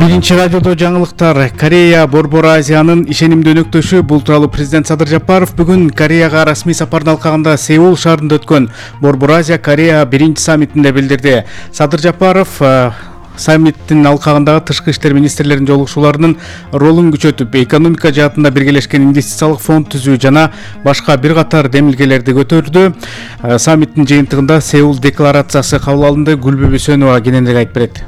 Биринчи радиодо жаңылыктар. Корея Борбор Азиянын ишенимдүү өнөктөшү. Бул тууралуу президент Садыр Жапаров бүгүн Кореяга расмий сапардын алкагында Сеул шаарында өткөн Борбор Азия Корея биринчи саммитинде билдирди. Садыр Жапаров саммиттин алкагындагы тышкы иштер министрлеринин жолугушууларынын ролун күчөтүп, экономика жаатында биргелешкен инвестициялык фонд түзүү жана башка бир катар демилгелерди көтөрдү. Саммиттин жыйынтыгында Сеул декларациясы кабыл алынды. Гүлбү Бүсөнова кененирээк айтып берет.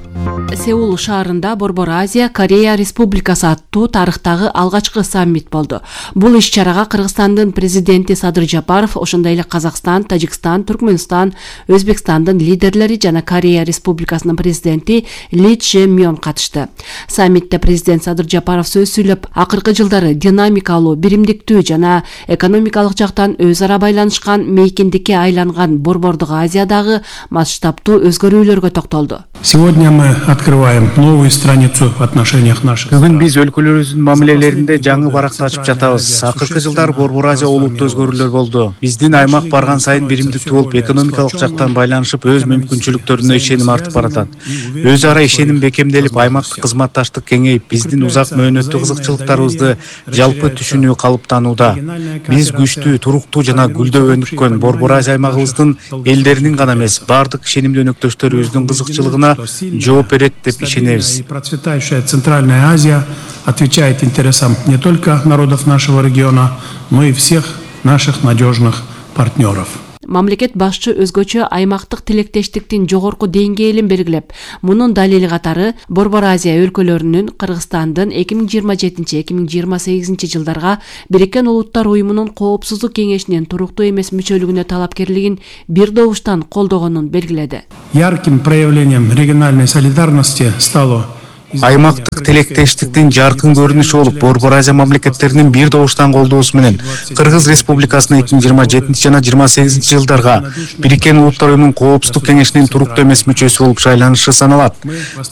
Сеул шаарында Борбор Азия Корея Республикасы аттуу тарыхтагы алгачкы саммит болду. Бул иш-чарага Кыргызстандын президенти Садыр Жапаров, ошондой эле Казакстан, Тажикстан, Түркмөнстан, Өзбекстандын лидерлери жана Корея Республикасынын президенти Ли Чжэ Мён катышты. Саммитте президент Садыр Жапаров сөз сүйлөп, акыркы жылдары динамикалуу, биримдиктүү жана экономикалык жактан өз ара байланышкан мейкиндикке айланган Борбордук Азиядагы масштабтуу өзгөрүүлөргө токтолду. Сегодня мы открываем новую страницу в отношениях наших. Бүгүн биз өлкөлөрүбүздүн мамилелеринде жаңы баракты ачып жатабыз. Акыркы жылдары Борбор Азия олуттуу өзгөрүүлөр болду. Биздин аймак барган сайын биримдиктүү болуп, экономикалык жактан байланышып, өз мүмкүнчүлүктөрүнө ишеним артып баратат. Өз ара ишеним бекемделип, аймактык кызматташтык кеңейип, биздин узак мөөнөттүү кызыкчылыктарыбызды жалпы түшүнүү калыптанууда. Биз күчтүү, туруктуу жана гүлдөп өнүккөн Борбор Азия аймагыбыздын элдеринин гана эмес, бардык ишенимдүү өнөктөштөрүбүздүн кызыкчылыгына жооп берет деп ишенебиз. Процветающая Центральная Азия отвечает интересам не только народов нашего региона, но и всех наших надежных партнеров. Мамлекет башчы өзгөчө аймактык тилектештиктин жогорку деңгээлин белгилеп, мунун далили катары Борбор Азия өлкөлөрүнүн Кыргызстандын 2027-2028 жылдарга Бириккен Улуттар Уюмунун Коопсуздук кеңешинин туруктуу эмес мүчөлүгүнө талапкерлигин бир добуштан колдогонун белгиледи. Ярким проявлением региональной солидарности стало Аймактык тилектештиктин жаркын көрүнүшү болуп, Борбор Азия мамлекеттеринин бир добуштан колдоосу менен Кыргыз Республикасынын 2027 жана 2028 жылдарга Бириккен Улуттар Уюмунун Коопсуздук кеңешинин туруктуу эмес мүчөсү болуп шайланышы саналат.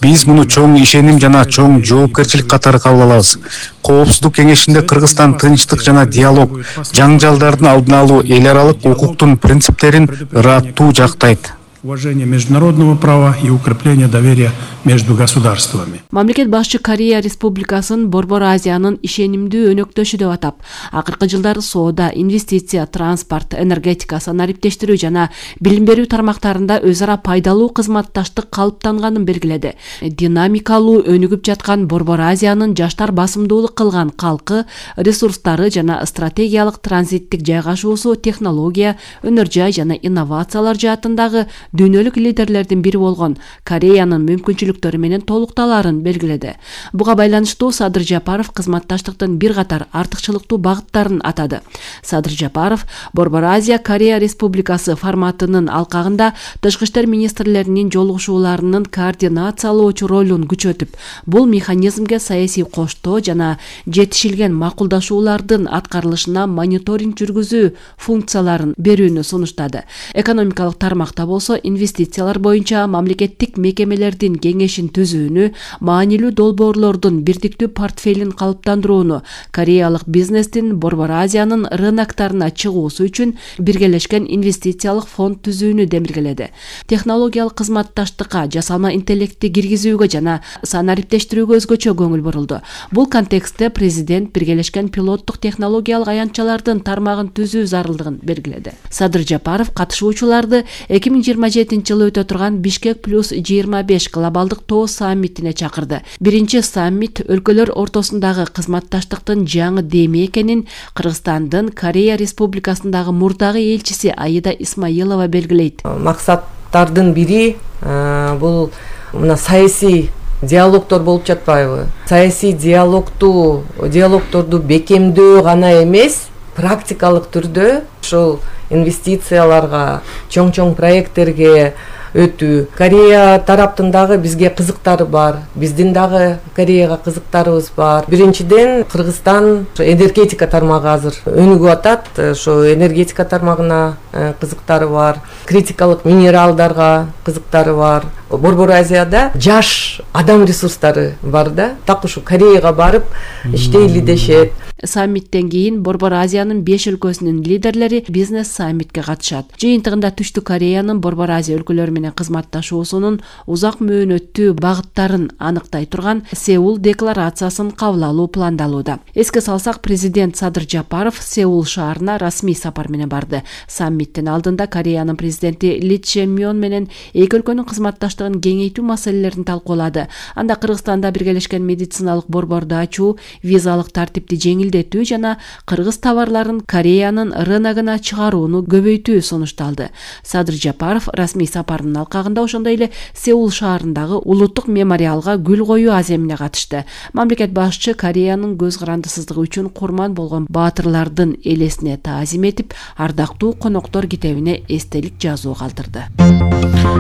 Биз муну чоң ишеним жана чоң жоопкерчилик катары кабыл алабыз. Коопсуздук кеңешинде Кыргызстан тынчтык жана диалог, жаңжалдардын алдын алуу, эл аралык укуктун принциптерин ыраттуу жактайт. Уважение международного права и укрепление доверия между государствами. Мамлекет башчы Корея Республикасын Борбор Азиянын ишенимдүү өнөктөшү деп атап, акыркы жылдары соода, инвестиция, транспорт, энергетика, санариптештирүү жана билим берүү тармактарында өз ара пайдалуу кызматташтык калыптанганын белгиледи. Динамикалуу өнүгүп жаткан Борбор Азиянын жаштар басымдуулук кылган калкы, ресурстары жана стратегиялык транзиттик жайгашуусу, технология, өнөр жай жана инновациялар жаатындагы дүйнөлүк лидерлердин бири болгон Кореянын мүмкүнчүлүктөрү менен толукталарын белгиледи. Буга байланыштуу Садыр Жапаров кызматташтыктын бир катар артыкчылыктуу багыттарын атады. Садыр Жапаров Борбор Азия Корея Республикасы форматынын алкагында тышкы иштер министрлеринин жолугушууларынын координациялоочу ролун күчөтүп, бул механизмге саясий коштоо жана жетишилген макулдашуулардын аткарылышына мониторинг жүргүзүү функцияларын берүүнү сунуштады. Экономикалык тармакта болсо инвестициялар боюнча мамлекеттик мекемелердин кеңешин түзүүнү, маанилүү долбоорлордун бирдиктүү портфелин калыптандырууну, кореялык бизнестин Борбор Азиянын рыноктарына чыгуусу үчүн биргелешкен инвестициялык фонд түзүүнү демилгеледи. Технологиялык кызматташтыкка, жасалма интеллектти киргизүүгө жана санариптештирүүгө өзгөчө көңүл бурулду. Бул контекстте президент биргелешкен пилоттук технологиялык аянтчалардын тармагын түзүү зарылдыгын белгиледи. Садыр Жапаров катышуучуларды 2027 жылы өтө турган Бишкек плюс 25 глобалдык тоо саммитине чакырды. Биринчи саммит өлкөлөр ортосундагы кызматташтыктын жаңы деми экенин Кыргызстандын Корея Республикасындагы мурдагы элчиси Аида Исмаилова белгилейт. Максаттардын бири бул мына саясий диалогдор болуп жатпайбы? Саясий диалогдорду бекемдөө гана эмес, практикалык түрдө ушул инвестицияларга, чоң проекттерге өтүү. Корея тараптын дагы бизге кызыктары бар, биздин дагы Кореяга кызыктарыбыз бар. Биринчиден, Кыргызстан энергетика тармагы азыр өнүгүп атат, ошо энергетика тармагына кызыктары бар, критикалык минералдарга кызыктары бар. Борбор Азияда жаш адам ресурстары бар да, так ушу Кореяга барып иштейли дешет. Саммиттен кийин Борбор Азиянын 5 өлкөсүнүн лидерлери бизнес саммитке катышат. Жыйынтыгында Түштүк Кореянын Борбор Азия өлкөлөрү менен кызматташуусунун узак мөөнөттүү багыттарын аныктай турган Сеул декларациясын кабыл алуу пландалууда. Эске салсак, президент Садыр Жапаров Сеул шаарына расмий сапар менен барды. Саммиттен алдында Кореянын президенти Ли Чжэ Мён менен эки өлкөнүн кызматташтыгын кеңейтүү маселелерин талкуулады. Анда Кыргызстанда биргелешкен медициналык борборду ачуу, визалык тартипти жеңилдетүү жана кыргыз товарларын Кореянын рыногуна чыгарууну көбөйтүү сунушталды. Садыр Жапаров расмий сапарынын алкагында ошондой эле Сеул шаарындагы улуттук мемориалга гүл коюу аземине катышты. Мамлекет башчы Кореянын көз карандысыздыгы үчүн курман болгон баатырлардын элесине таазим этип, ардактуу коноктор китебине эстелик жазуу калтырды.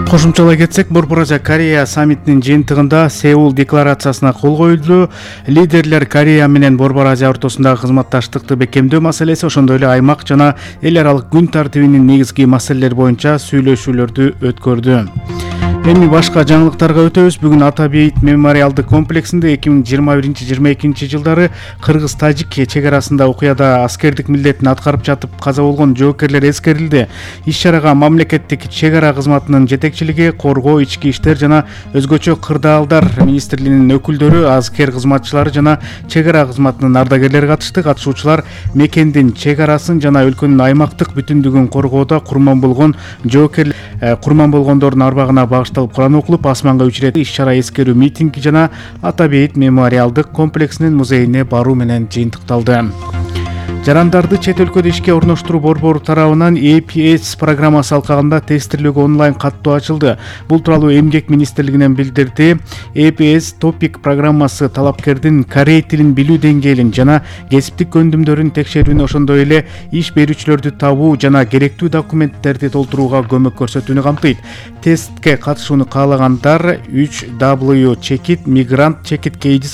Кошумчалай кетсек, Борбор Азия Корея саммитинин жыйынтыгында Сеул декларациясына кол коюлду. Лидерлер Корея менен Борбор Азия ортосундагы кызматташтыкты бекемдөө маселеси, ошондой эле аймак жана эл аралык күн тартибинин негизги маселелери боюнча сүйлөшүүлөрдү өткөрдү. Эми башка жаңылыктарга өтөбүз. Бүгүн Ата Бейит мемориалдык комплексинде 2021-22 жылдары Кыргыз-Тажик чек арасында окуяда аскердик милдетин аткарып жатып каза болгон жоокерлер эскерилди. Иш-чарага мамлекеттик чек ара кызматынын жетекчилиги, коргоо, ички иштер жана өзгөчө кырдаалдар министрлигинин өкүлдөрү, аскер кызматчылары жана чек ара кызматынын ардагерлери катышты. Катышуучулар мекендин чек арасын жана өлкөнүн аймактык бүтүндүгүн коргоодо курман болгон жоокерлер, курман болгондордун арбагына багышталып Куран окулуп, асманга 3 ирет иш-чара эскерүү митинги жана Ата Бейит мемориалдык комплексинин музейине баруу менен жыйынтыкталды. Жарандарды чет өлкөдө ишке орноштуруу борбору тарабынан EPS программасы алкагында тестирлөөгө онлайн каттоо ачылды. Бул тууралуу Эмгек министрлигинен билдирди. EPS Topic программасы талапкердин корей тилин билүү деңгээлин жана кесиптик көндүмдөрүн текшерүүнү, ошондой эле иш берүүчүлөрдү табуу жана керектүү документтерди толтурууга көмөк көрсөтүүнү камтыйт. Тестке катышууну каалагандар 3W Chekit Migrant Chekit KG